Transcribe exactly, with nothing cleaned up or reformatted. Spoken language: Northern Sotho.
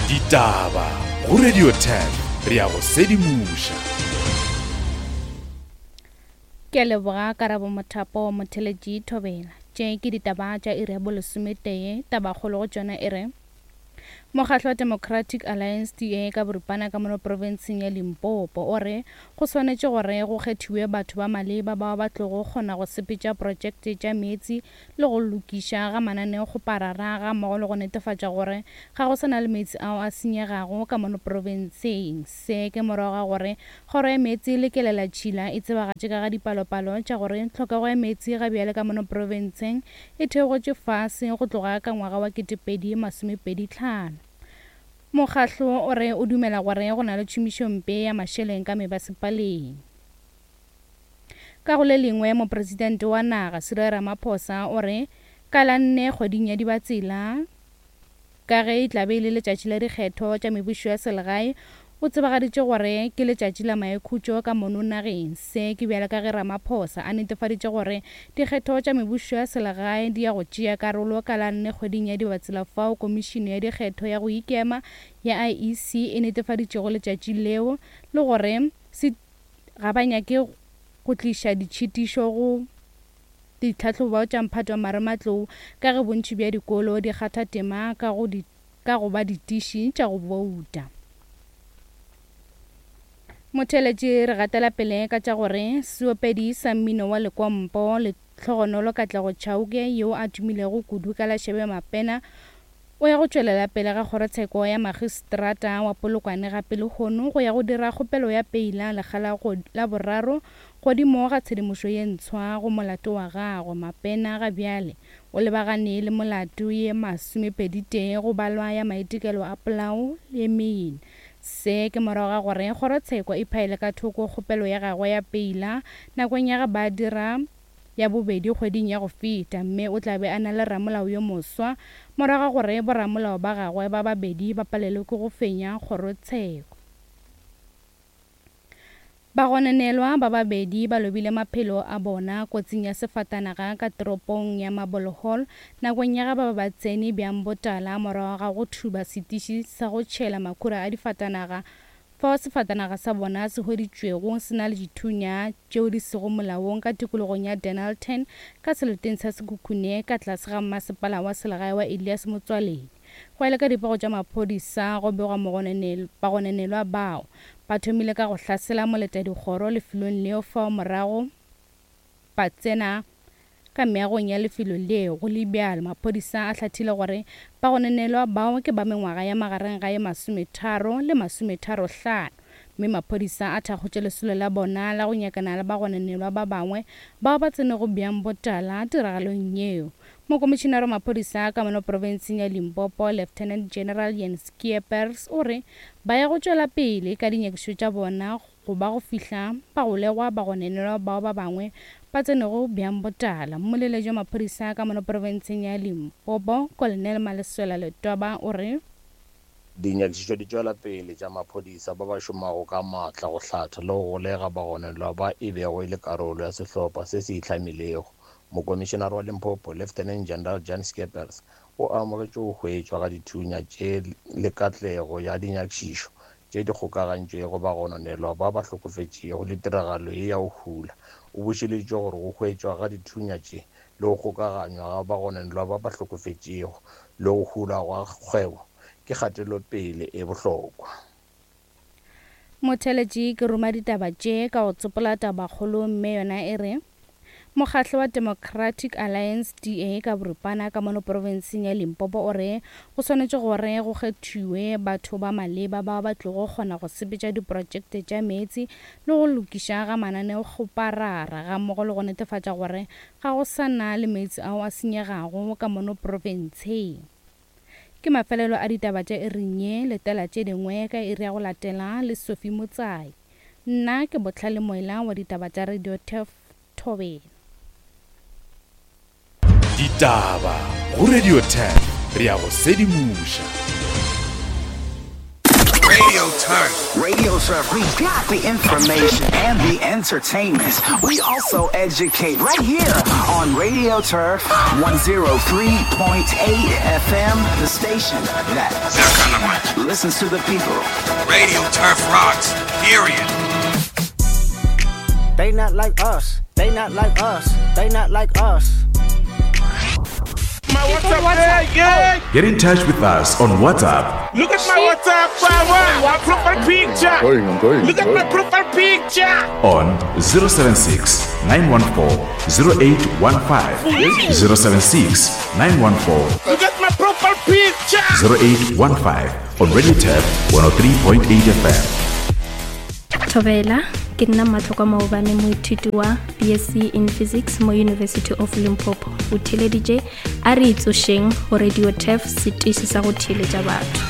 Ditaba go Radio ten re ya go sedimoša. Ke a leboga Karabo Mothapo Motheletši Thobela. Tše ke ditaba tša iri ya bolesometee, tabakgolo go tšona e re Mokgatlo wa Democratic Alliance D A ka boripana ka mono profenseng ya Limpopo o re go swanetše gore go kgethiwe batho ba maleba bao ba tlogo kgona go sepetša projekte tša meetse le go lokiša ga mananeokgoparara ga mmogo le go netefatša gore ga go sa na le meetse ao a senyegago ka mono profenseng. Se ke morago ga gore kgoro ya meetse le kelelatšhila e tsebagatše ka ga dipalopalo tša gore tlhokego ya meetse ga bjale ka mono profenseng e theogetše fase go tloga ka ngwaga wa ketepedi masomepedi tlhano. Mokgatlo o re o dumela gore go na le tšhomišompe ya mašeleng ka mebasepaleng. Ka go le lengwe, mopresidente wa naga Cyril Ramaphosa o re ka la nne kgweding ya Dibatsela, ka ge e tla be e le letšatši la dikgetho tša mebušo ya selegae, o tsebagaditše gore ke letšatši la maikhutšo ka mono nageng. Se ke bjale ka ge Ramaphosa a netefaditše gore dikgetho tša mebušo ya selegae di ya go tšea karolo ka la nne kgweding ya Dibatsela fao komišene ya dikgetho ya go ikema ya I E C e netefaditšego letšatši leo le gore se ga ba nyake go tliša ditšhitišo go ditlhahlobo tša mphato wa marematlou ka ge bontši bja dikolo di kgatha tema ka go di, ka go ba ditiši tša go bouta. Motheletši re gatela pele ka tša gore seopedi sa mmino wa lekompo le Tlhogonolo Katlego Chauke yo a tumilego kudu ka la Shebe Mapena o ya go tšwelela pele ga kgorotsheko ya magistrata wa Polokwane gape lehono go ya go dira kgopelo ya peila lekga la boraro godimo ga tshedimošo ye ntshwa go molato wa gagwe. Mapena ga bjale o lebagane le molato ye masomepedi tee go balwa ya maitekelo a polao ye mene. Se ke morago ga gore kgorotsheko e phaele ka thoko kgopelo ya gagwe ya peila nakong ya ge ba dira ya bobedi kgweding ya go feta, mme o tla be a na le ramolao yo moswa morago ga gore boramolao ba gagwe ba babedi ba palelwe ke go fenya kgorotsheko. Bagononelwa ba babedi ba lobile maphelo a bona kotsing ya sefatanaga ka toropong ya Marble Hall nakong ya ge ba ba tsene bjang botala morago ga go thuba setiši sa go tšhela makhura a difatanaga fao sefatanaga sa bona se hweditšwego se na le dithunya tšeo di sego molaong ka tikologong ya Dennilton ka seleteng sa Sekhukhune ka tlase ga mmasepala wa selegae wa Elias Motswaledi. Go ya le ka dipego tša maphodisa go begwa bagononelwa bao ba thomile ka go hlasela moletadikgoro lefelong leo fao morago ba tsena ka meagong ya lefelo leo. Go le bjalo, maphodisa a hlathile gore bagononelwa bao ke ba mengwaga ya magareng ga ye masometharo le masometharo hlano, mme maphodisa a thakgotše lesolo la bona la go nyakana le bagononelwa ba bangwe bao ba tsenego bjang botala tiragalong yeo. Mokomišenare wa maphodisa ka mono profenseng ya Limpopo Lieutenant General Jens Schippers o re ba ya go tšwela pele ka dinyakišišo tša bona go ba go fihla bagolegwa bagononelwa bao ba bangwe ba tsenego bjang botala. Mmoleletši wa maphodisa ka mono profenseng ya Limpopo Colonel Maleswela Letwaba o re dinyakišišo di tšwela pele tša maphodisa ba ba šomago ka maatla go hlatha le go golega bagononelwa ba e bego e le karolo ya sehlopha se se itlhamilego. Mokomišenare wa Limpopo Lieutenant General Jan Schippers o amogetše go hwetšwa ga dithunya tše le katlego ya dinyakišišo tše di kgokagantšwego bagononelwa ba ba hlokofetšego le tiragalo ye ya go hula. O bušeleditše gore go hwetšwa ga dithunya tše le go kgokaganywa ga bagononelwa ba ba hlokofetšego le go hula gwa kgwebo ke kgatelopele e bohlokwa. Motheletši ke roma ditaba tše ka go tsopola tabakgolo mme yona e re Mokgatlo wa Democratic Alliance D A ka boripana ka mono profenseng ya Limpopo o re go swanetše gore go kgethiwe batho ba maleba bao ba tlogo kgona go sepetša diprojekte tša meetse le go lokiša ga mananeokgoparara ga mmogo le go netefatša gore ga go sa na le meetse ao a senyegago ka mono profenseng. Ke mafelelo a ditaba tša iring ye, letela tše dingwe ka iri ya go latela le Sophie Motsai. Nna ke Botlhale Moela wa ditaba tša Radio Turf Thobela. Ditaba go Radio Turf re ya go sedimoša. Radio Turf. Radio Turf. We got the information and the entertainment. We also educate right here on Radio Turf one oh three point eight F M, the station that listens to the people. Radio Turf rocks, period. They not like us. They not like us. They not like us. My WhatsApp, yeah, yeah. Get in touch with us on WhatsApp Look at my WhatsApp, my, my profile picture. Going, I'm going. Look at going. my profile picture. on zero seven six, nine one four, zero eight one five. zero seven six, nine one four, Look at my profile picture. zero eight one five on Radio Turf one oh three point eight F M. Thobela, ke nna Matlhokwa Maobane, moithuti wa B S C in Physics mo University of Limpopo. O theeleditše a re itsošeng go Radio Turf, setiši sa go theeletša batho.